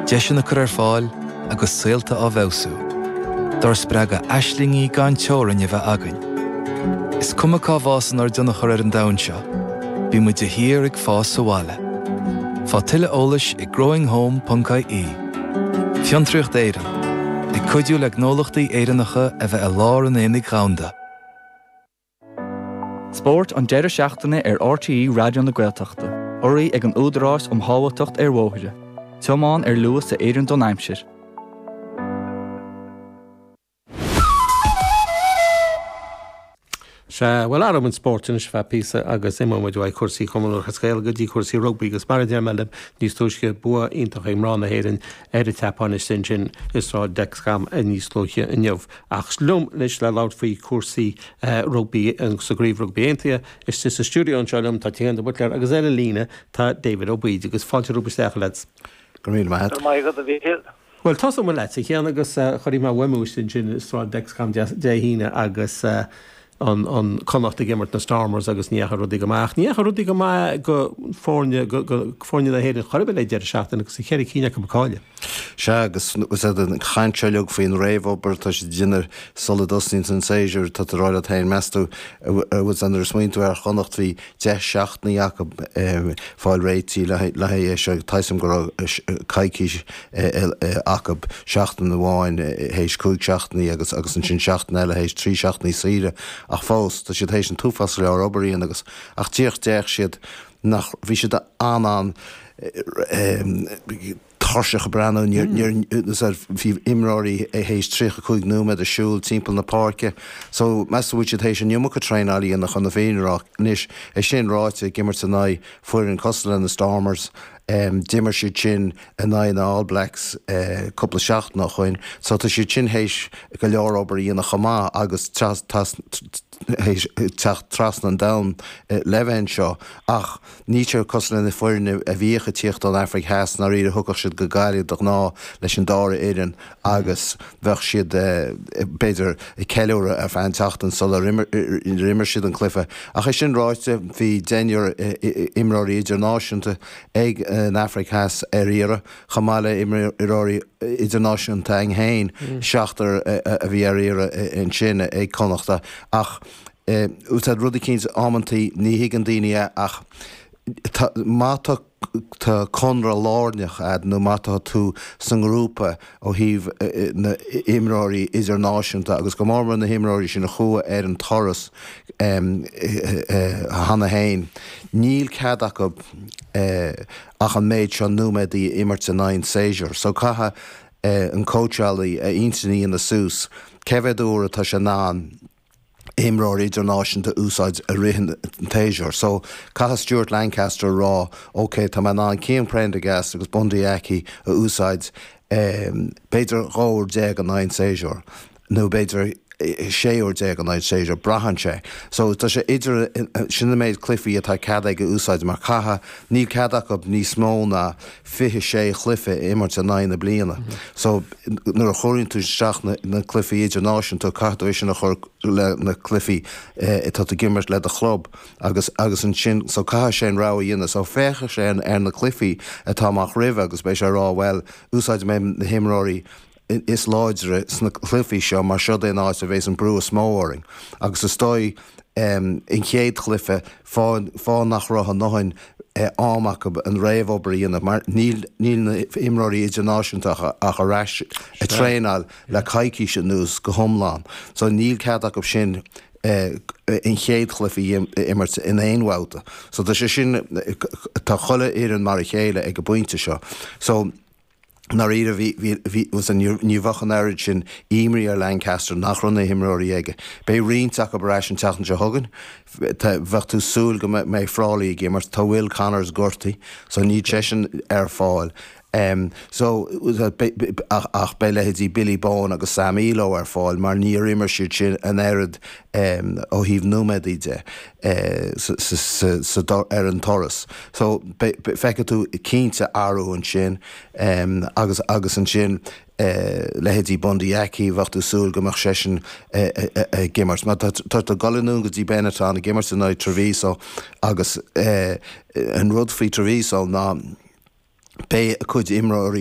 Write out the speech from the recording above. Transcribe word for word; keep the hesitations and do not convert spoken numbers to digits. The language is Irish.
Deiseanna curtha ar fáil agus saolta á bhfeabhsú. Dár spreagadh aislingí gan teorainn a bheith againn. Is cuma cá bhfásann ár dtionchar ar an domhan seo, bíonn muid de shíor ag fás sa bhaile. Faigh tuilleadh eolais ag growinghome.ie. Fiontraíocht Éireann, ag cuidiú le gnólachtaí Éireannacha a bheith i lár an aonaigh dhomhanda. Spórt an deireadh seachtaine ar RTÉ Raidió na Gaeltachta, urraithe ag an Údarás um Shábháilteacht ar Bhóithre. Tiomáin ar luas a oireann don aimsir. Sea, bhuel, athróidh muid spórt anois ar feadh píosa agus imeoidh muid uaidh cúrsaí Chumann Lúthchleas Gael go dtí cúrsaí rugbaí agus mar a deir mé libh níos túisce, bua iontach ag mná na hÉireann ar an tSeapáin istigh ansin i Sráid Dexcom níos luaithe inniu. Ach liom anois le labhairt faoi chúrsaí rugbaí sa gCraobh Rugbaí Aontaithe, istigh sa stiúideo anseo liom tá Cian de Buitléar agus ar an líne tá David Ó Baoid agus fáilte romhaibh isteach, a leaids. Go raibh míle maith agat. Go raibh maith agat, a Mhíchíl. Bhuel, tosóidh mé leatsa, a Chian, agus chonaic mé uaim thú istigh ansin i Sráid Dexcom Dé hAoine agus an an Connacht ag imirt na Stormers agus ní dheachaigh rudaí go maith. Ach ní dheachaigh rudaí go maith go foirne go go foirne na hÉireann chor ar bith le deireadh seachtaine agus ceithre cinn acu ag cailleadh. Sea, agus an chaint seo uilig faoin réamhobair atá siad a dhéanamh sula dtosnaíonn an séasúr, tá tú ag rá leat féin, meas tú, bhfuil a fhios agat, nuair a smaoiníonn tú ar Chonnacht, bhí deich seachtainí acu fáil réitithe le haghaidh é seo, tá a fhios agam go raibh coicís acu, seachtain amháin théis cúig seachtainí agus agus ansin seachtain eile théis trí seachtainí saoire ach fós tá siad théis an t-uafás go leor obair a dhéanamh agus ach díreach d'fhéach siad nach bhí siad an-an tuirseach ag breathnú níor bhí imreoirí théis tríocha cúig nóiméad ag siúl timpeall na páirce so meas tú bhfuil siad théis an iomarca traenáil a dhéanamh chun na fírinne a rá anois é sin ráite ag imirt in aghaidh foireann cosúil le na Stormers D'imir siad sin in aghaidh na All Blacks cúpla seachtain ó shoin so tá siad sin théis go leor obair a dhéanamh chomh maith agus théis teacht trasna an domhain le bheith anseo ach níl sé cosúil le na foirne a bhíodh ag tíocht ón Afraic Theas i ndáiríre thiocfadh siad go Gaillimh de ghnáth leis an dara fhoireann agus bheadh siad b'fhéidir ag ceiliúradh ar feadh an tseachtain sular imir siad an cluiche. Ach é sin ráite bhí deichniúr imreoirí idirnáisiúnta ag an Afraic Theas ar iarraidh, chomh maith le imreoirí idirnáisiúnta againn féin, seachtar a bhí ar iarraidh ansin ag Connachta. Ach tá rud eicínt, amantaí ní thuigeann daoine é ach má tá tá conradh lárnach a'd nó má tá tú sa ngrúpa ó thaobh na n-imreoirí idirnáisiúnta agus go mór mór na himreoirí sin a chuaigh ar an turas cheana féin, níl cead acu ach an méid seo nóiméadaí a imirt in aghaidh an tséasúir. So caithfidh an cóitseálaí a intinn a dhéanamh suas cé mhéad uair atá sé in ann imreoir idirnáisiúnta a úsáid i rith an tséasúir. So, caithfidh Stuart Lancaster a rá, ok, tá mé in ann Cian Prendergast agus Bundee Aki a úsáid b'fhéidir dhá uair déag in aghaidh an tséasúir, nó b'fhéidir sé uair déag in aghaidh an tséasúir, braitheann sé. So, tá sé idir, sin an méid cluichí atá cead aige a úsáid mar caithfidh, níl cead acu níos mó ná fiche sé chluiche a imirt in aghaidh na bliana. So, nuair a chuireann tú isteach na cluichí idirnáisiúnta, caithfidh tú é sin a chur le na cluichí atá tú ag imirt le do chlub agus agus ansin so caithfidh sé an rogha a dhéanamh. So féachfaidh sé ar na cluichí atá amach roimhe agus beidh sé ag rá bhuel úsáidfidh mé na himreoirí is láidre sna cluichí seo mar seo é an áit a bheas an brú is mó orainn. Agus is dóigh an chéad chluiche fáth fáth nach raibh a ndóthain am acu an réamhobair a dhéanamh mar níl níl na himreoirí idirnáisiúnta ach ar ais ag traenáil le coicís anuas go hiomlán so níl cead acu sin an chéad chluiche a imirt in aon bhabhta. So tá sé sin tá chuile fhoireann mar a chéile ag an bpointe seo. So ndáiríre bhí bhí bhí ní bheadh an oiread sin imní ar Lancaster nach raibh na himreoirí aige. Beidh roinnt acu ar ais an tseachtain seo chugainn. Bheadh tú súil go mbeidh Frawley ag imirt. Tá Will Connors gortaithe so níl seisean ar fáil. So ach beidh leithéidí Billy Bowen agus Sam Illo ar fáil mar níor imir siad sin an oiread ó thaobh nóiméadaí de ar an turas. So feicfidh tú cinnte athrú ansin agus agus ansin leithéidí Bundee Aki, bheadh tú súil go mbeadh seisean ag imirt. Mar tá tú ag dul anonn go dtí Benetton ag imirt in aghaidh Treviso agus an rud faoi Treviso ná beidh a cuid imreoirí